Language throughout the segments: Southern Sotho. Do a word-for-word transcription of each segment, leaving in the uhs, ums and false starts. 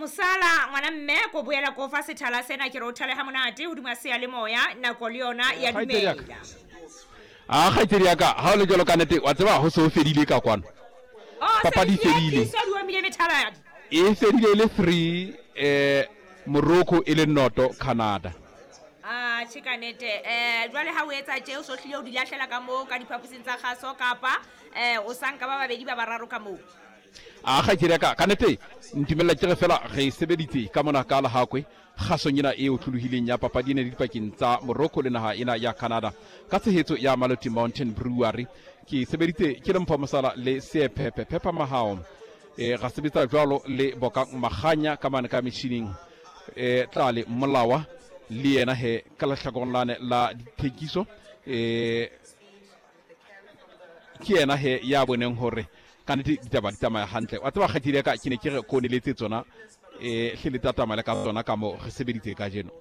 Mosala ngwana mme ko boela ko fa sethala sena ke re o thale ha monate hodima seyalemoya nako le yona ya dumela. A kgaitsedi ya ka ha o le jwalo ka nnete wa tseba ho se ho fedile ka kwano. Oh, Papadi e fedile. E fedile e le three eh Morocco e le noto Canada. Ah, tjhe ka nnete. Eh jwale ha o etsa tje o so hlile o di lahlela ka moo ka diphaposing tsa kgaso kapa eh o sanka ba babedi ba bararo ka moo. A kgaitsedi ya ka ka nnete ntumella ke re fela re sebeditse ka mona ka Lehakwe kgasong ena e otlolohileng ya papadi ena dipakeng tsa Morocco le naha ena ya Canada ka tshehetso ya Maloti Mountain Brewery. Ke sebeditse ke le Mpho Mosala le Seephepe Phepha Mahao. E ra sebetsa jwalo le Bokang Maganya ka mane ka metjhining e Tlale Molawa le yena he ka lehlakoreng lane la dithekiso e ke yena he ya boneng hore ka nnete ditaba di tsamaya hantle. Wa tseba kgaitsedi ya ka ke ne ke re ko neletse tsona e hle le tla tsamaya le ka tsona ka moo re sebeditse kajeno.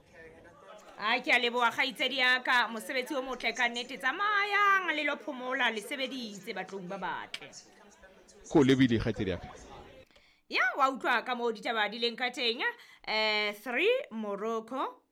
A ke a leboha kgaitsedi ya ka, mosebetsi o motle ka nnete. Tsamayang le lo phomola, le sebeditse batlong ba batle. Ko lebile kgaitsedi ya ka. Ya wa utlwa ka moo ditaba di leng ka teng. Eh three Morocco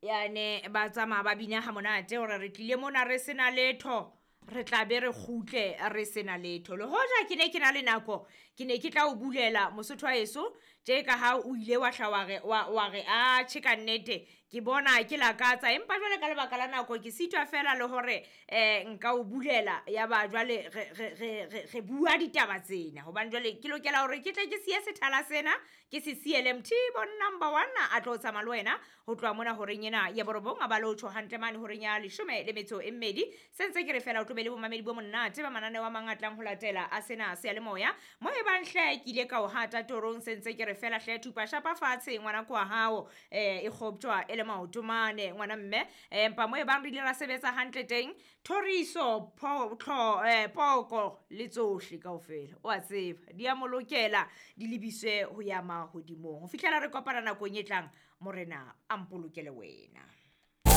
yane ba tsamaya ba bina ha monate hore re tlile mona re sena letho, re tla be re kgutle re sena letho. Le hoja ke ne ke na le nako, ke ne ke tla o bulela Mosotho wa heso tje ka ha o ile wa hla wa re wa re a tjhe ka nnete ke bona ke lakatsa, empa jwale ka lebaka la nako ke sitwa fela le hore eh nka o bulela ya ba jwale re re re re bua ditaba tsena hobane jwale ke lokela hore ke tle ke siye sethala sena ke se siele Mthibo number one a tlo tsamaya le wena ho tloha mona horeng ena ya borobong a ba le ho tjho hantle mane horeng ya leshome le metso e mmedi. Se ntse ke re fela o tlo be le bomamedi bo monate ba mananeo a mang a tlang ho latela a sena seyalemoya mo e bang hle ke ile ka o hata torong. Se ntse ke re fela hle thupa shapa fatshe ngwana kwa hao eh e kgoptjwa e le maoto mane ngwana mme empa mo e bang re ile ra sebetsa hantle teng thoriso pho eh poko le tsohle kaofela o a tseba di a molokela di lebiswe ho ya mahodimong ho fihlela re kopana nakong e tlang. Morena a mpolokele wena.